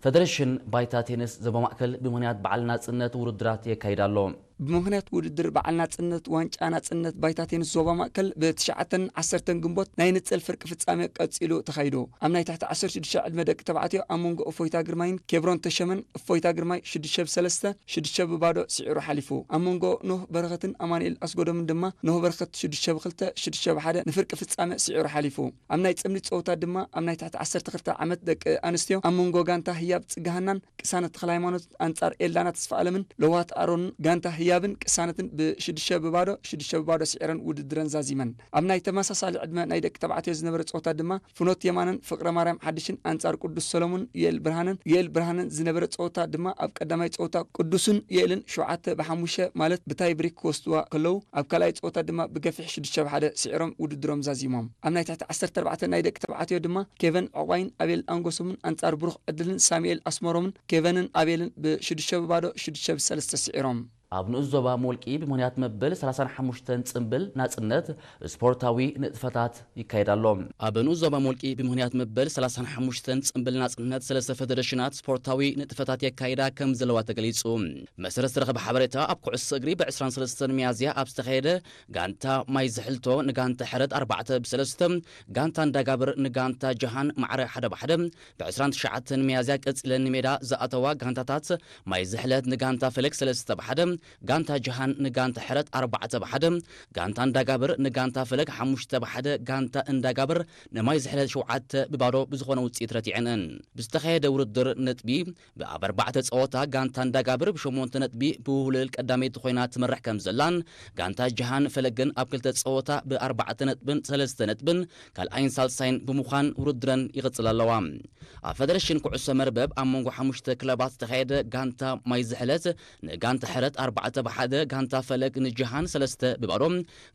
ፈደረሽን ባይታ ቴኒስ ዞባ ማእከል ብምኽንያት በዓል ናጽነት ውድድራት የካይድ ኣሎ። ብምኽንያት ውድድር በዓል ናጽነት ዋንጫ ናጽነት ባይታ ቴኒስ ዞባ ማእከል ብትሽዓተን ዓሰርተን ግንቦት ናይ ንጽል ፍርቂ ፍጻሜ ቀጺሉ ተኻይዱ። ኣብ ናይ ትሕቲ ዓሰርተ ሽዱሽተ ዕድመ ደቂ ተባዕትዮ ኣብ መንጎ እፎይታ ግርማይን ኬብሮን ተሸመን እፎይታ ግርማይ ሽዱሽተ ብሰለስተ፣ ሽዱሽተ ብባዶ ስዒሩ ሓሊፉ። ኣብ መንጎ ኖህ በረኸትን ኣማኑኤል ኣስጎዶምን ድማ ኖህ በረኸት ሽዱሽተ ብክልተ፣ ሽዱሽተ ብሓደ ንፍርቂ ፍጻሜ ስዒሩ ሓሊፉ። ኣብ ናይ ጽምዲ ጸወታ ድማ ኣብ ናይ ትሕቲ ዓሰርተ ክልተ ዓመት ደቂ ኣንስትዮ ኣብ መንጎ ጋንታ ህያብ ጽገሃናን ቅሳነት ተኽለ ሃይማኖት ኣንጻር ኤልዳና ተስፋ ኣለምን ለዋት ኣሮንን ጋንታ ህያብን ቅሳነትን ብሽዱሽተ ብባዶ፣ ሽዱሽተ ብባዶ ስዒረን ውድድረን ዛዚመን። ኣብ ናይ ተመሳሳሊ ዕድመ ናይ ደቂ ተባዕትዮ ዝነበረ ጸወታ ድማ ፍኖት የማነን ፍቕረ ማርያም ሓድሽን ኣንጻር ቅዱስ ሰሎሞን ዩኤል ብርሃነን፣ ዩኤል ብርሃነን ዝነበረ ጸወታ ድማ ኣብ ቀዳማይ ጸወታ ቅዱስን ዩኤልን ሸውዓተ ብሓሙሽተ ማለት ብታይ ብሬክ ክወስድዋ ከለዉ፣ ኣብ ካልኣይ ጸወታ ድማ ብገፊሕ ሽዱሽተ ብሓደ ስዒሮም ውድድሮም ዛዚሞም። ኣብ ናይ ትሕቲ ዓሰርተ ኣርባዕተ ናይ ደቂ ተባዕትዮ ድማ ኬቨን ዕቑባይን ኣቤል ኣንጎሶምን ኣንጻር ብሩኽ ዕድልን ሳሙኤል ኣስመሮምን ኬቨንን ኣቤልን ብሽዱሽተ ብባዶ ሽዱሽተ ብሰለስተ ስዒሮም። ኣብ ንኡስ ዞባ ሞልቂ ብምኽንያት መበል ሰላሳን ሓሙሽተን ጽምብል ናጽነት ስፖርታዊ ንጥፈታት ይካየድ ኣሎ። ኣብ ንኡስ ዞባ ሞልቂ ብምኽንያት መበል ሰላሳን ሓሙሽተን ጽምብል ናጽነት ሰለስተ ፈደረሽናት ስፖርታዊ ንጥፈታት የካይዳ ከም ዘለዋ ተገሊጹ። መሰረት ዝተረኸበ ሓበሬታ፣ ኣብ ኩዕሶ እግሪ ብ ዕስራን ሰለስተን ሚያዝያ ኣብ ዝተኻየደ ጋንታ ማይ ዝሕልቶ ንጋንታ ሕረት ኣርባዕተ ብሰለስተ፣ ጋንታ እንዳጋብር ንጋንታ ጀሃን ማዕረ ሓደ ብሓደ፣ ብ ዕስራን ትሽዓተን ሚያዝያ ቀጺለን ንሜዳ ዝኣተዋ ጋንታታት ማይ ዝሕለት ንጋንታ ፈለግ ሰለስተ ብሓደ፣ ጋንታ ጀሃን ንጋንታ ሕረት ኣርባዕተ ብሓደ፣ ጋንታ እንዳጋብር ንጋንታ ፈለግ ሓሙሽተ ብሓደ፣ ጋንታ እንዳጋብር ንማይ ዝሕለት ሸውዓተ ብባዶ ብዝኾነ ውጽኢት ረቲዐን'ን። ብዝተኻየደ ውድድር ነጥቢ ብኣብ ኣርባዕተ ጸወታ ጋንታ እንዳጋብር ብሸሞንተ ነጥቢ ብውህልል ቀዳመይቲ ኮይና ትመርሕ ከም ዘላን፣ ጋንታ ጀሃን ፈለግን ኣብ ክልተ ጸወታ ብኣርባዕተ ነጥብን ሰለስተ ነጥብን ካልኣይን ሳልሳይን ብምዃን ውድድረን ይቕጽላ ኣለዋ። ኣብ ፈደረሽን ኩዕሶ መርበብ ኣብ መንጎ ሓሙሽተ ክለባት ዝተኻየደ ጋንታ ማይ ዝሕለት ንጋንታ ሕረት ኣርባዕተ ብሓደ፣ ጋንታ ፈለግ ንጀሃን ሰለስተ ብባዶ፣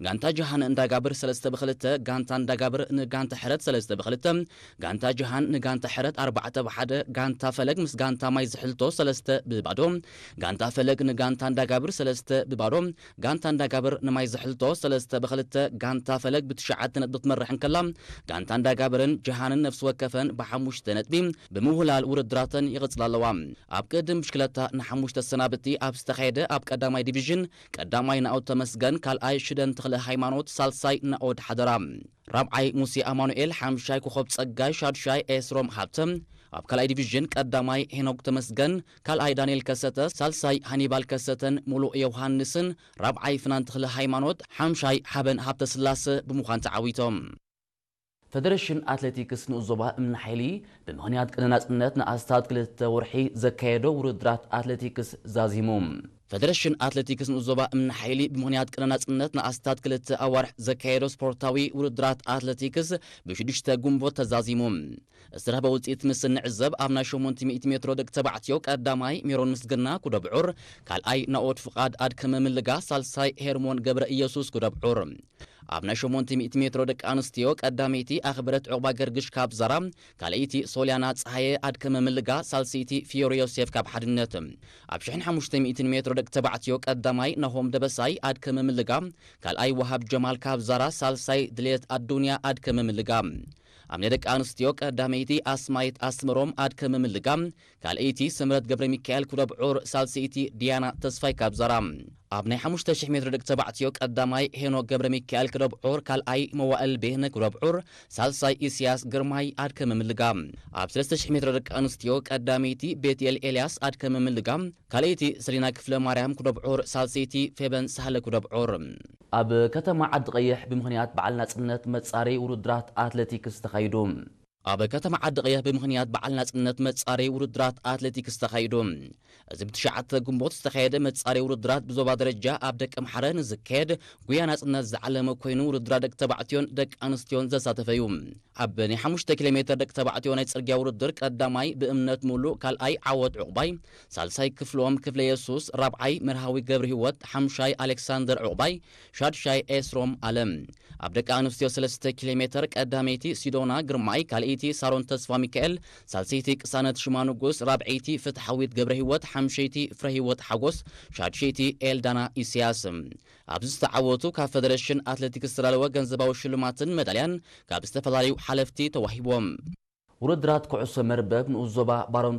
ጋንታ ጀሃን እንዳጋብር ሰለስተ ብክልተ፣ ጋንታ እንዳጋብር ንጋንታ ሕረት ሰለስተ ብክልተ፣ ጋንታ ጀሃን ንጋንታ ሕረት ኣርባዕተ ብሓደ፣ ጋንታ ፈለግ ምስ ጋንታ ማይ ዝሕልቶ ሰለስተ ብባዶ፣ ጋንታ ፈለግ ንጋንታ እንዳጋብር ሰለስተ ብባዶ፣ ጋንታ እንዳጋብር ንማይ ዝሕልቶ ሰለስተ ብክልተ፣ ጋንታ ፈለግ ብትሽዓተ ነጥቢ ክትመርሕ እንከላ፣ ጋንታ እንዳጋብርን ጀሃንን ነፍሲ ወከፈን ብሓሙሽተ ነጥቢ ብምውህላል ውድድራተን ይቕጽላ ኣለዋ። ኣብ ቅድም ብሽክለታ ንሓሙሽተ ሰናብቲ ኣብ ዝተኻየደ ኣብ ቀዳማይ ዲቪዥን ቀዳማይ ናኦድ ተመስገን፣ ካልኣይ ሽደን ተኽለ ሃይማኖት፣ ሳልሳይ ናኦድ ሓደራ፣ ራብዓይ ሙሴ ኣማኑኤል፣ ሓምሻይ ኮኸብ ጸጋይ፣ ሻድሻይ ኤስሮም ሃብተ፣ ኣብ ካልኣይ ዲቪዥን ቀዳማይ ሄኖክ ተመስገን፣ ካልኣይ ዳንኤል ከሰተ፣ ሳልሳይ ሃኒባል ከሰተን ሙሉእ ዮውሃንስን፣ ራብዓይ ፍናን ተኽለ ሃይማኖት፣ ሓምሻይ ሓበን ሃብተ ስላሰ ብምዃን ተዓዊቶም። ፈደረሽን ኣትሌቲክስ ንኡስ ዞባ እምኒ ሓይሊ ብምኽንያት ቅነ ናጽነት ንኣስታት ክልተ ወርሒ ዘካየዶ ውድድራት ኣትሌቲክስ ዛዚሙ። ፈደረሽን ኣትሌቲክስ ንኡስ ዞባ እምኒ ሓይሊ ብምኽንያት ቅነ ናጽነት ንኣስታት ክልተ ኣዋርሕ ዘካየዶ ስፖርታዊ ውድድራት ኣትሌቲክስ ብሽዱሽተ ግንቦት ተዛዚሙ። ዝተረኽበ ውጽኢት ምስ እንዕዘብ፣ ኣብ ናይ ሸሞንተ ሚእቲ ሜትሮ ደቂ ተባዕትዮ ቀዳማይ ሜሮን ምስግና ኩደብዑር፣ ካልኣይ ናኦድ ፍቓድ ኣድከመ ምልጋ፣ ሳልሳይ ሄርሞን ገብረ ኢየሱስ ኩደብዑር። ኣብ ናይ ሸሞንተ ሚእቲ ሜትሮ ደቂ ኣንስትዮ ቀዳመይቲ ኣኽብረት ዑቕባ ገርግሽ ካብ ዛራ፣ ካልኣይቲ ሶልያና ጸሃየ ኣድከመ ምልጋ፣ ሳልሰይቲ ፊዮሪ ዮሴፍ ካብ ሓድነት። ኣብ ሽሕን ሓሙሽተ ሚእትን ሜትሮ ደቂ ተባዕትዮ ቀዳማይ ናሆም ደበሳይ ኣድከመ ምልጋ፣ ካልኣይ ወሃብ ጀማል ካብ ዛራ፣ ሳልሳይ ድሌት ኣዱንያ ኣድከመ ምልጋ። ኣብ ናይ ደቂ ኣንስትዮ ቀዳመይቲ ኣስማይት ኣስመሮም ኣድከመ ምልጋ፣ ካልኣይቲ ስምረት ገብረ ሚካኤል ኩደብዑር፣ ሳልሰይቲ ዲያና ተስፋይ ካብ ዛራ። ኣብ ናይ ሓሙሽተ ሽሕ ሜትሮ ደቂ ተባዕትዮ ቀዳማይ ሄኖክ ገብረ ሚካኤል ኩደብዑር፣ ካልኣይ መዋእል ቤህነ ኩደብዑር፣ ሳልሳይ ኢስያስ ግርማይ ኣድከመ ምልጋ። ኣብ ሰለስተ ሽሕ ሜትሮ ደቂ ኣንስትዮ ቀዳመይቲ ቤትኤል ኤልያስ ኣድከመ ምልጋ፣ ካልኣይቲ ሰሊና ክፍለ ማርያም ኩደብዑር፣ ሳልሰይቲ ፌበን ሳህለ ኩደብዑር። ኣብ ከተማ ዓዲ ቀይሕ ብምኽንያት በዓል ናጽነት መጻረዪ ውድድራት ኣትሌቲክስ ተኻይዱ። ኣብ ከተማ ዓዲ ቀይሕ ብምኽንያት በዓል ናጽነት መጻረዪ ውድድራት ኣትሌቲክስ ተኻይዱ። እዚ ብትሽዓተ ግንቦት ዝተኻየደ መጻረዪ ውድድራት ብዞባ ደረጃ ኣብ ደቀምሓረ ንዝካየድ ጉያ ናጽነት ዝዓለመ ኮይኑ፣ ውድድራት ደቂ ተባዕትዮን ደቂ ኣንስትዮን ዘሳተፈ እዩ። ኣብ ናይ ሓሙሽተ ኪሎ ሜትር ደቂ ተባዕትዮ ናይ ጽርግያ ውድድር ቀዳማይ ብእምነት ሙሉእ፣ ካልኣይ ዓወት ዑቕባይ፣ ሳልሳይ ክፍሎም ክፍለ የሱስ፣ ራብዓይ መርሃዊ ገብረ ህይወት፣ ሓምሻይ ኣሌክሳንደር ዑቕባይ፣ ሻድሻይ ኤስሮም ኣለም። ኣብ ደቂ ኣንስትዮ ሰለስተ ኪሎ ሜትር ቀዳመይቲ ሲዶና ግርማይ፣ ካልኣይቲ ሳሮን ተስፋ ሚካኤል፣ ሳልሰይቲ ቅሳነት ሽማ ንጉስ፣ ራብዐይቲ ፍትሓዊት ገብረ ህይወት፣ ሓምሸይቲ ፍረ ህይወት ሓጎስ፣ ሻድሸይቲ ኤልዳና ኢስያስ። ኣብዚ ዝተዓወቱ ካብ ፈደረሽን ኣትሌቲክስ ዝተዳለወ ገንዘባዊ ሽልማትን መዳልያን ካብ ዝተፈላለዩ ሓለፍቲ ተዋሂቦም። ውድድራት ኩዕሶ መርበብ ንኡስ ዞባ ባረንቱ